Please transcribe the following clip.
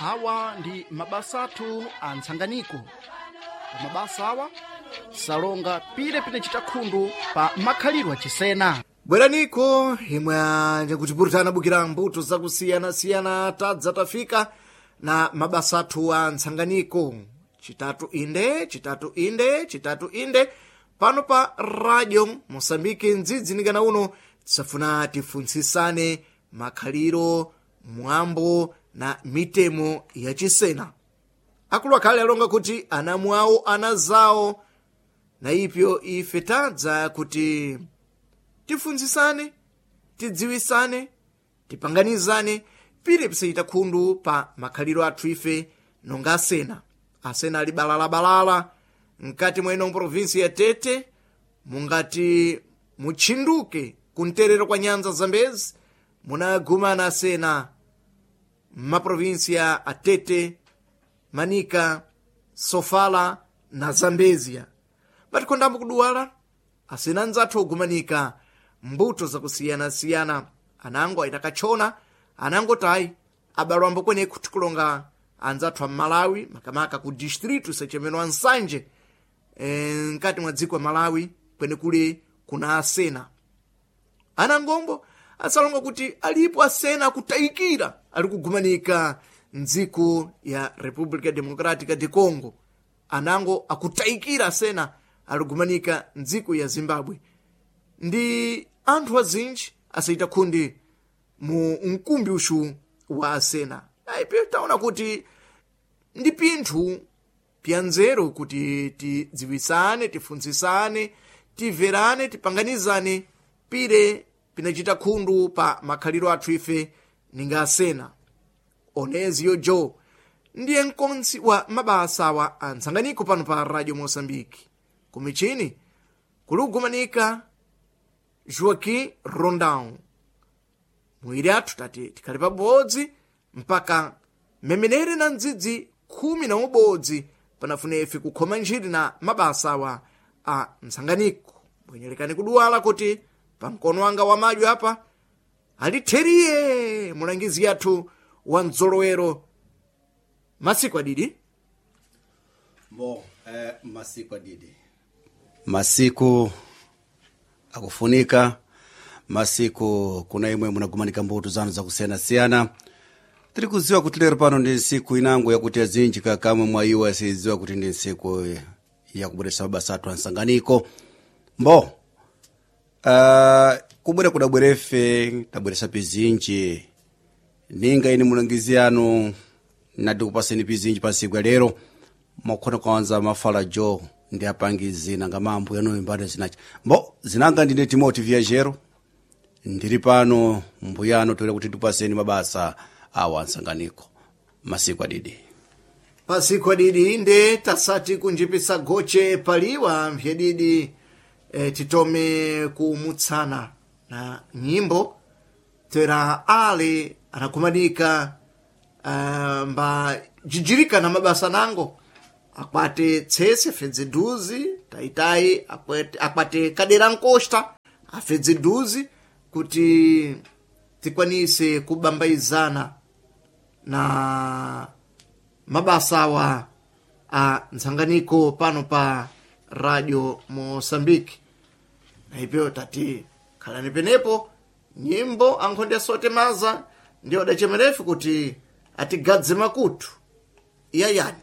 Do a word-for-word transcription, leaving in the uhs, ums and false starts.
Awa ndi mabasa athu a ntsanganiko. Pa mabasa awa salonga pire pinachita khundu pa makhalidwe achisena. Bweraniko imwe kutipurutana bukira mbuto zakusiyanasiyana tadza tafika na mabasa athu a ntsanganiko. Chitatu inde, chitatu inde, chitatu inde pano pa Radio Mosambiki mdzidzi uno tisafuna tifuntsisane makhaliro, mwambo na mitemo yachisena. Akulu akhale alonga kuti anamu awo ana zawo na ipyo ife tadza kuti tifunzisane, tidziwisane, tipanganizane pire pisachita khundu pa makhaliro athu ife nonga asena. Asena ali balalabalala mkati mwa ino provinsi ya Tete, mungati mutchinduke kumterero kwa nyanza Zambezi munagumana asena m'maprovinsiya a Tete, Manika, Sofala na Zambezia. Patikhondambo kuduwala asena anzathu ogumanika mbuto zakusiyanasiyana, anango aita katchona, anango tayi abalwambo kweneku tikulonga anzathu a Malawi, makamaka ku distritu sachemeno Ansanje e, mkati mwa dziko la Malawi kwenekuli kuna asena. Anangombo asalonga kuti alipo asena akutayikira ali kugumanika mdziko ya República Democrática de Congo, anango akutayikira asena ali kugumanika mdziko ya Zimbabwe. Ndi anthu azinji asayita khundi mu mkumbi uxu wa asena. Ayipi taona kuti ndi pinthu pya nzeru kuti tidziwisane, tifunzisane, timverane, tipanganizane pire pinachita khundu pa makhaliro athu ife ninga asena. Oneziyo Joe ndiye mkontsi wa mabasa awa a ntsanganiko pano pa Radio Mosambiki. Kumichini kuli kugumanika Joaquim Rondão. Muiri athu tati tikhale pabodzi mpaka memenere na mdzidzi khumi na umodzi panafuna ife kukhoma ntchito na mabasa awa a ntsanganiko. Bwenyelekani kuduwala kuti pamkono wanga wamadyo apa alitheriye mulangizi yathu wa mdzolowero masiku adidi. Bo, eh, masiku adidi, masiku akufunika masiku kuna imwe munagumanika mbuto zanu zakusiyanasiyana. Tiri kuziwa kuti lero pano ndi nsiku inango yakuti azinji kakamwe mwa iwo asiziwa kuti ndi nsiku yakubweresa mabasa athu ansanganiko. Mbo uh, kubwera kudabwerefe tabweresa pizinji ninga ini mulangizi yanu nati kupaseni pizinji pa nsiku ya lero mwakhona kwanza mafala jo ndi apangi zina nga mambo yanu imbane zinachi. Mbo zinanga ndine Timothy Viajero ndiri pano mbuyano toera kuti tipaseni mabasa awa ansanganiko masiku adidi. Pasiku adidi inde tasati kunjipisa goche paliwa mphyedidi e, titome kumutsana na nyimbo tera ale anakumanika uh, mba jijirika na mabasa nango akwate tsese afedze duzi taitayi akwate, akwate kadera nkosta afedze duzi kuti tikwanise kubambaizana na mabasa awa a ntsanganiko pano pa Radio Mosambiki. Na ipyo tati khalani penepo nyimbo ankhonde asote maza ndiyo adachemerefu kuti atigadze makutu iyayani.